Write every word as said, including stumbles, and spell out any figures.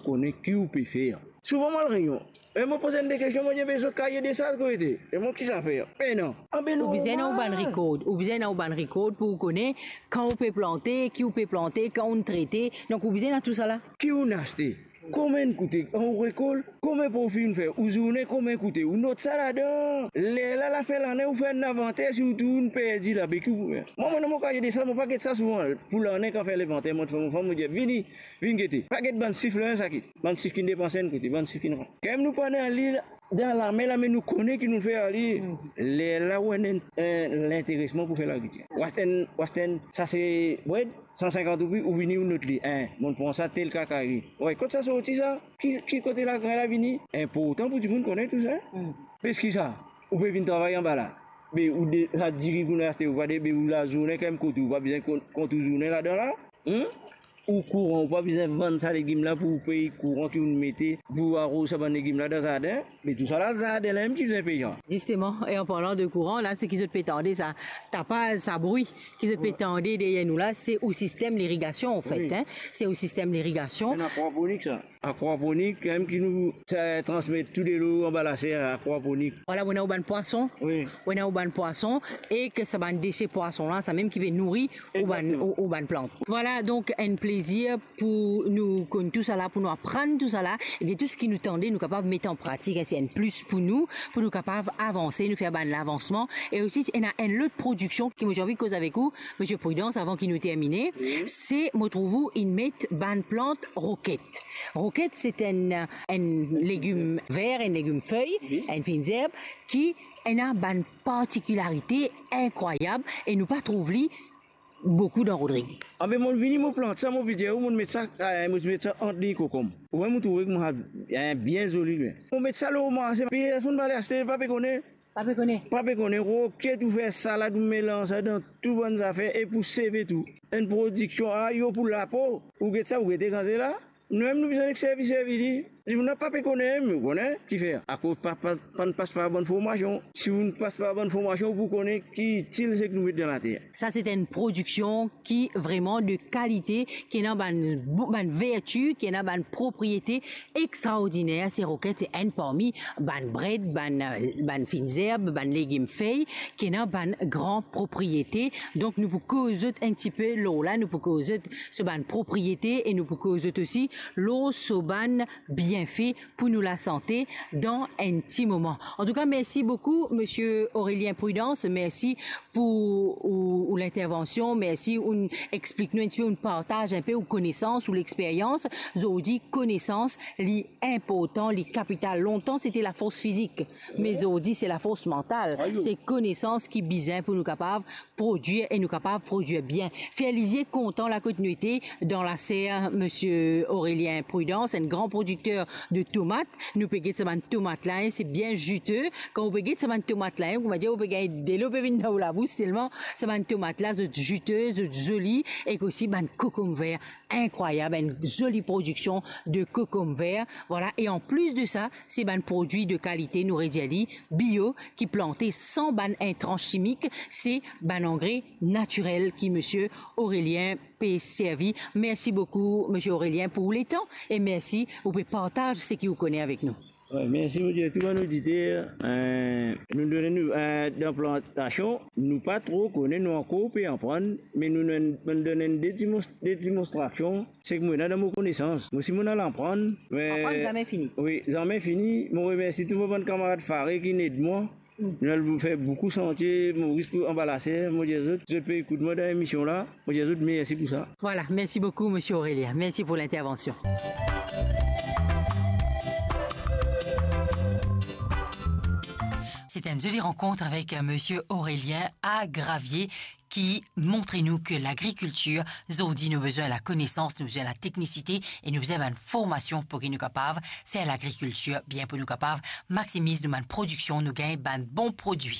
kone ki ou pe fer. Souvan mo al reynion, e mo poz enn de kestion, mo dir, "Be zot kaye de saz kote?" E mo, "Ki zafer?" "Pena." "Abe non, ou bizin ena ou bann rikord, ou bizin ena ou bann rikord pou ou kone kan ou pe plante, ki ou pe plante, kan ou trete, donk ou bizin ena tousala." Ki ou aste, konbien koute, kan ou rekolt, konbien profi ou fer, ou zourne konbien koute, ou not sa ladan. Lerla, lafin lane, ou fer enn invanter, si ou tou ou perdi la, be ki ou pou fer? Mwa, mo ena mo kaye de saz, mo pa get sa souvan. Pou lane, kan fer linvanter, mo fer mo fam, mo dir, "Vini, vinn gete." Pa get bann sif la, sa ki, bann sif ki depanse enn kote, bann sif ki... Kan nou pa ena li dan lame la, me nou kone ki nou fer ar li. Lerla ou ena enn, enn linteresman pou fer lagrikiltir. Ou aste enn, ou aste enn sase bred, san sinkant roupi, ou vini ou not li. Enn, mo pran sa tel kakayi. Wey, kot sa sorti sa? Ki, ki kote lagrin la vini? Inportan pou dimoun kone tou sa. Parski ki sa, ou pe vinn travay anba la, be ou de, sa diri ki ou aste, ou pa de, be ou lazourne kan mem kot ou, ou pa bizin kont, kont ou zourne ladan la. Hmm? Ou kouran, ou pa bizin vann sa legim la pou ou pey kouran ki ou mete pou aroz sa bann legim la dan zardin. Me tousala, zardin la mem ki bizin pey sa. Zisteman, e an parlan de kouran, la, seki zot pe tande sa tapaz, sa bri ki zot pe tande deryer nou la, se ou sistem lirigasion, anfet, en. Se ou sistem lirigasion. Enn akwaponik sa. Akwaponik, kan mem ki nou, sa, transmet tou delo anba laser, akwaponik. Vwala, ou ena ou bann pwason. Wi. Ou ena ou bann pwason, e ki sa bann dese pwason la, sa mem ki pe nouri ou bann, ou, ou bann plant. Vwala, donk, enn plezir pou nou konn tousala, pou nou aprann tousala, ebien, tou seki nou tande, nou kapav met an pratik, e se enn plis pou nou, pou nou kapav avanse, nou fer bann lavansman. E osi, ena enn lot prodiksion ki mo ti anvi koz avek ou, Misie Prudence, avan ki nou termine, se, mo trouv ou inn met bann plant roket. Roket, se enn, enn legim ver, enn legim fey, enn finn zerb, ki ena bann partikilarite inkrwayab e nou pa trouv li boukou dan Rodrig. Abe, mo vini, mo plant sa, mo pe dir ou, mo met sa, eh, mo met sa ant liy kokom. Ou, mo trouve ki mo, eh, bien zoli, bien. Mo met sa lor marse, personn pa ale aste, pa pe kone. Pa pe kone. Pa pe kone, roket ou fer salad, ou melanz sa dan tou bann zafer, e pou seve tou. Enn prodiksion, ah, yo, pou lapo. Ou get sa, ou gete kan se la. Nou mem nou bizin servi, servi li. Dimoun la pa pe kone, me ou kone, kifer? Akoz pa, pa, pa, pas par bann formasion. Si ou pas par bann formasion, ou pou kone ki itil seki nou met dan later. Sa se enn prodiksion ki vreman de kalite, ki ena bann, bann verti, ki ena bann propriete extraordiner. Se roket, se enn parmi bann bred, bann, bann finn zerb, bann legim fey, ki ena bann gran propriete. Donk nou pou koz zot enn tipe lor la, nou pou koz zot so bann propriete e nou pou koz zot osi lor so bann bienfe pou nou lasante dan enn ti moman. Antouka, mersi boukou, Misie Aurélien Prudence. Mersi pou ou, ou lintervansion. Mersi, ou explik nou enn tipe, ou partaz enn pe ou konesans, ou lexperyans. Zordi, konesans, li inportan, li kapital. Lontan, se te lafors fizik, me zordi, se lafors mantal. Se konesans ki bizin pou nou kapav prodwir e nou kapav prodwir bien. Fer lizie kontan la kot nou ete dan laser Misie Aurélien Prudence, enn gran prodikter de tomat. Nou pe get sa bann tomat la, en, se bien zite. Kan ou pe get sa bann tomat la, en, koumadir ou pe gagn delo pe vinn dan ou labous telman sa bann tomat la, zot zite, zot zoli, ek osi bann kokomver inkrwayab, enn zoli prodiksion de kokomver. Vwala, e anplis de sa, se bann prodwi de kalite, nou redir li, bio, ki plante san bann intrans simik, se bann angre natirel ki Misie Aurélien pe servi. Mersi boukou, Misie Aurélien, pou letan, e mersi ou pe partaz seki ou kone avek nou. Wi, mersi, mo dir tou bann oditer, eh, nou donn nou, eh, dan plantasion, nou pa tro kone, nou ankor pe aprann, me nou donn, nou donn de dimons-, de dimonstrasion, seki mo ena dan mo konesans. Mo si mo al aprann, me... Aprann zame fini. Wi, zame fini. Mo remersi tou mo bann kamarad fare ki inn ed mwa. Nou al fer boukou santie Moris pou anba laser. Mo dir zot, zot pe ekout mwa dan lemision la. Mo dir zot mersi pou sa. Vwala, mersi boukou, Misie Aurélien. Mersi pou lintervansion. Sete enn zoli rankont avek, euh, Misie Aurélien a Gravier ki montre nou ki lagrikiltir, zordi nou bizin lakonesans, nou bizin lateknisite e nou bizin bann formasion pou ki nou kapav fer lagrikiltir bien, pou nou kapav maksimiz nou bann prodiksion, nou gagn bann bon prodwi.